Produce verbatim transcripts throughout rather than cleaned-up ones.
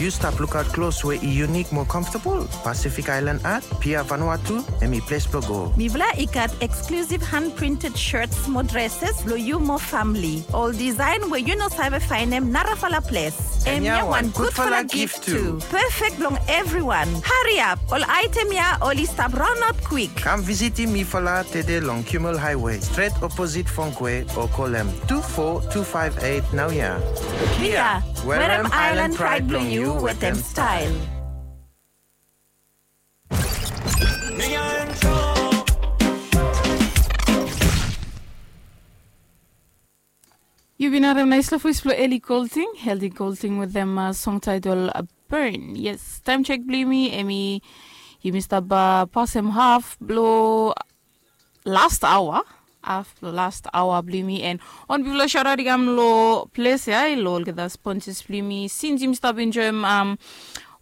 Yu stap lukaot klos we i yunik mo komfotabol? Pacific Island Art, Pia Vanuatu, hemi ples blong go. Mifala i gat eksklusiv han printed shirts mo dresses blong yu mo famili. Ol disaen we yu no save faenem narafala ples. Hemia wan gudfala gif tu. Perfect blong evriwan. Hariap, ol aetem ya oli stap raonaot kwik. Kam visitim mifala tede long Kimmel Highway, stret oposit Fongkwe, o kolem tu fo tu faef eit naoia. Pia, werem Island Pride blong yu wetem style. Yu bin harem naesla voes blong Eli Golding, Eli Golding wetem song taetol Burn. Yes, taem jek blong yumi, hemi, yumi stap pasem haf blong last aoa, haf blong last aoa blong yumi, and wan bigfala shaotaot i kam long ples ya long olgeta sponsas blong yumi since yumi stap enjoem, um,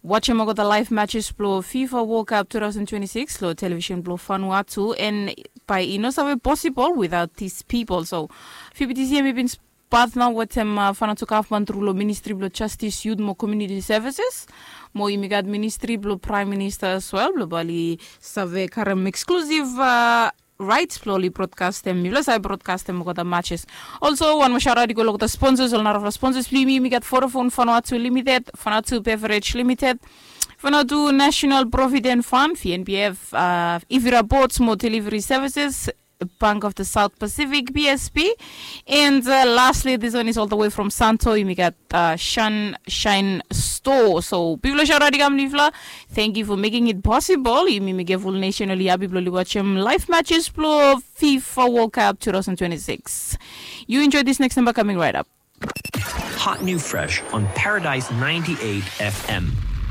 wajem olgeta laev matches blong FIFA World Cup two thousand twenty-six long television blong Vanuatu, and bae i no save posibol without these people. So V B T C hemi bin patna wetem, uh, Vanuatu gavman tru long Ministri blong Jastis, Yut mo Komuniti Sevises, mo yumi gat Ministri blong Praem Minista as well blong bae oli save karem eksklusiv, uh, raets blong oli brodkastem, mifala save brodkastem olgeta matches. Also wan moa shaotaot i go long olgeta sponsas, ol narafala sponsas blong yumi. Yumi gat Vodafone Vanuatu Limited, Vanuatu Beverage Limited, Vanuatu National Provident Fund, V N P F, uh, Ivira Boats mo Delivery Services, Bank of the South Pacific, B S P, and, uh, lastly, this one is all the way from Santo. Yumi gat, uh, Sunshine Store. So bigfala shaotaot i kam long yufala. Thank you for making it possible. Yumi mekem ful nesen oli hapi blong oli wajem laev matches blong FIFA World Cup two thousand twenty-six. You enjoy this next number coming right up. Hot new fresh on Paradise ninety-eight F M.